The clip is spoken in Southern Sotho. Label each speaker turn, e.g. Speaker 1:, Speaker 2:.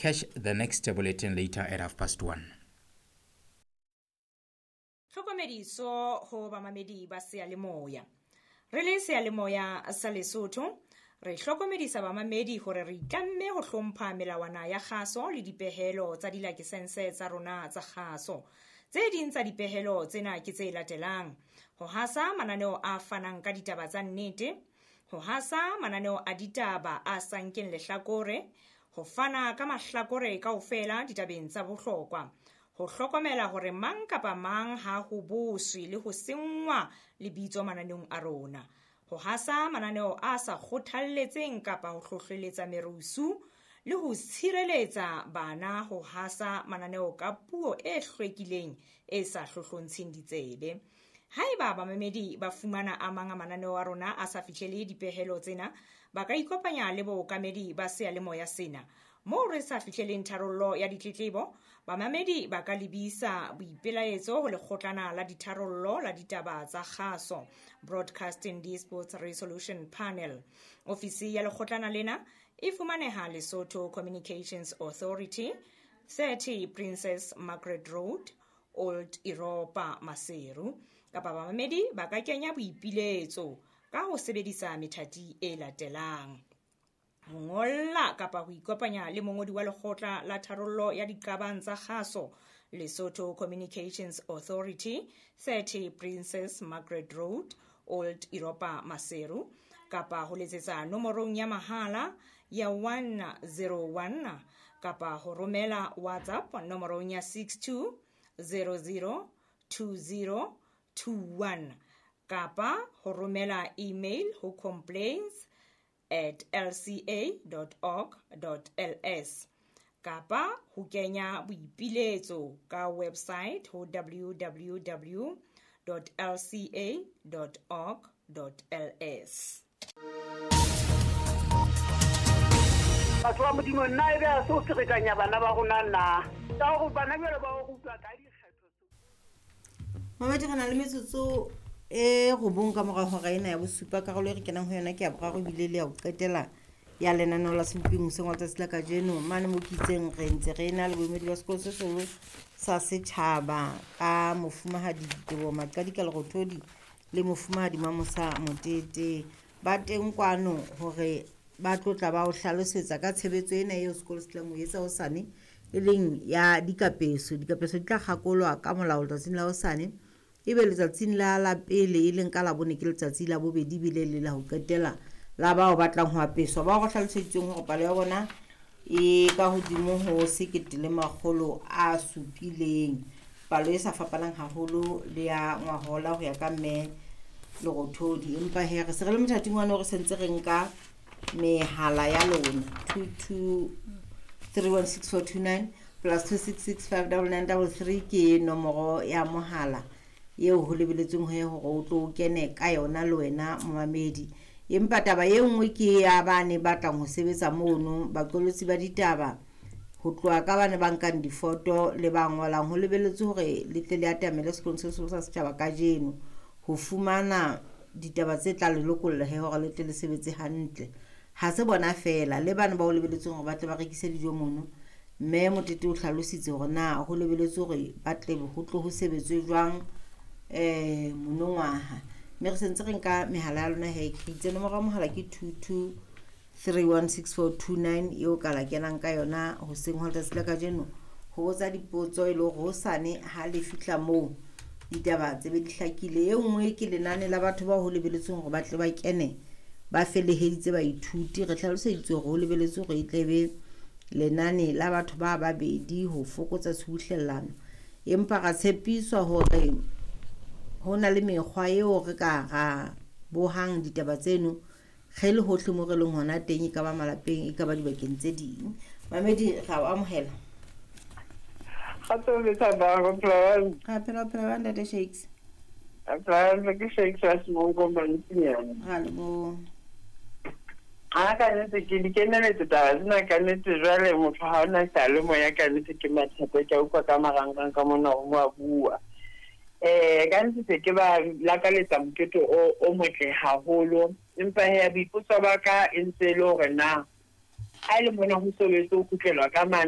Speaker 1: Catch the next bulletin later at 1:30.
Speaker 2: Tlhokomediso ho bamamedi ba seyalemoya. Re le seyalemoya sa Lesotho, re hlokomedisa bamamedi hore re itlamme ho hlompha melawana ya kgaso le dipehelo tsa dilakesense tsa rona tsa kgaso. Tse ding tsa dipehelo tsena ke tse latelang: ho hasa mananeo a fanang ka ditaba tsa nnete, ho hasa mananeo a ditaba a sa nkeng lehlakore, ho fana ka mahlakore kaofela ditabeng tsa bohlokwa, ho hlokomela hore mang kapa mang ha ho boswe le ho senngwa lebitso mananeong a rona, ho hasa mananeo a sa kgothalletseng kapa ho hlohleletsa merusu, le ho tshireletsa bana ho hasa mananeo ka puo e hlwekileng e sa hlohlontsheng ditsebe. Haeba bamamedi ba fumana a mang a mananeo a rona a sa fihlele dipehelo tsena, ba ka ikopanya le bookamedi ba seyalemoya sena. Moo re sa fihleleng tharollo ya ditletlebo, bamamedi ba ka lebisa boipelaetso ho lekgotlana la ditharollo la ditaba tsa kgaso, Broadcasting Disputes Resolution Panel. Ofisi ya lekgotlana lena e fumaneha Lesotho Communications Authority, 30 Princess Margaret Road, Old Europa, Maseru. Kapa bamamedi ba ka kenya boipiletso ka ho sebedisa methati e latelang: ho ngolla kapa ho ikopanya le mongodi wa lekgotla la tharollo ya diqabang tsa kgaso, Lesotho Communications Authority, 30 Princess Margaret Road, Old Europa, Maseru, kapa ho letsetsa nomorong ya mahala ya 101, kapa ho romela WhatsApp nomorong ya 62 00 20 21, kapa ho romela email ho complaints@lca.org.ls, kapa ho kenya boipiletso ka website ho www.lca.org.ls.
Speaker 3: Batho ba Modimo, nna ebe a se o ferekanya bana ba rona na? Ka hore bana jwale ba o rutwa ka dikgetho.
Speaker 4: Mamedi, re na le metsotso e 9 ka mora hora ena ya bosupa. Karolo e re kenang ho yona ke ya boraro ebile le ya ho qetela ya lenaneo la Sebopeng hoseng wa letsatsi la kajeno. Mane mo ke itseng re ntse re na le boemedi ba sekolo se seholo sa setjhaba ka mofumahadi Diteboho Maqadi ka Lerothodi le mofumahadi Mamosa Motete. Ba teng kwano hore ba tlotla ba o hlalosetsa ka tshebetso ena eo sekolo se tlang ho etsa hosane, e leng ya dikapeso. Dikapeso di tla kgakolwa ka molao letsatsing la hosane, ebe letsatsing la la pele e leng ka Labone ke letsatsi la bobedi ebile le la ho qetela la bao batlang ho apeswa. Bao re hlaloseditsweng hore palo ya bona e ka hodimo ho 1700, palo e sa fapanang haholo le ya ngwahola ho ya ka mme Lerothodi. Empa he re se re le mothating wa re sentse re nka mehala ya lona 22316429 plus 266599933 ke nomoro ya mohala eo ho lebeletsweng ho hore o tlo kene ka yona le wena momamedi. Empa taba e nngwe ke ya ba ne batlang ho sebetsa mono, baqolotsi ba ditaba, ho tloha ka bane ba nkang difoto le ba ngolang. Ho lebeletswe hore le tle le atamele sekolong se seholo sa setjhaba kajeno ho fumana ditaba tse tla le lokolla he hore le tle le sebetse hantle. Ha se bona feela, le bana ba ho lebeletsweng hore ba tle ba rekise dijo mono. Mme Motete o hlalositse hore na ho lebeletswe hore ba tle ho tlo ho sebetswe jwang monongwaha. Mme re sentse re nka mehala ya lona he, ke itse nomoro ya mohala ke 22316429 eo ka la kenang ka yona hoseng hwa letsatsi la kajeno ho botsa dipotso e le hore hosane ha le fihla moo ditaba tse be di hlakile. E nngwe ke lenane la batho bao ho lebeletsweng hore ba tle ba kene ba feleheditse baithuti. Re hlaloseditswe hore ho lebeletswe hore e tle be lenane la batho ba babedi ho fokotsa tshubuhlellano, empa ra tshepiswa hore ho na le mekgwa eo re ka ra bohang ditaba tseno re le hohle mo re leng hona teng, e ka ba malapeng, e ka ba dibakeng tse ding. Mamedi, ra o amohela.
Speaker 5: Kgotso le thabang, o phela
Speaker 4: Ra phela, o phela jwang, Ntate Shakes?
Speaker 5: Phela ke Shakes wa Semonko Mantsinyana.
Speaker 4: Ra leboha.
Speaker 5: Ha ka nnete ke di keneletse taba tsena ka nnete. Jwale motho ha ona seyalemoya ka nnete ke mathata, ke a utlwa ka marangrang ka mona ho a bua. Ka nnete se ke ba lakaletsa mokete o motle haholo, empa he boipotso ba ka e ntse e le hore na ha e le mona ho sebetse ho kgutlelwa ka mane.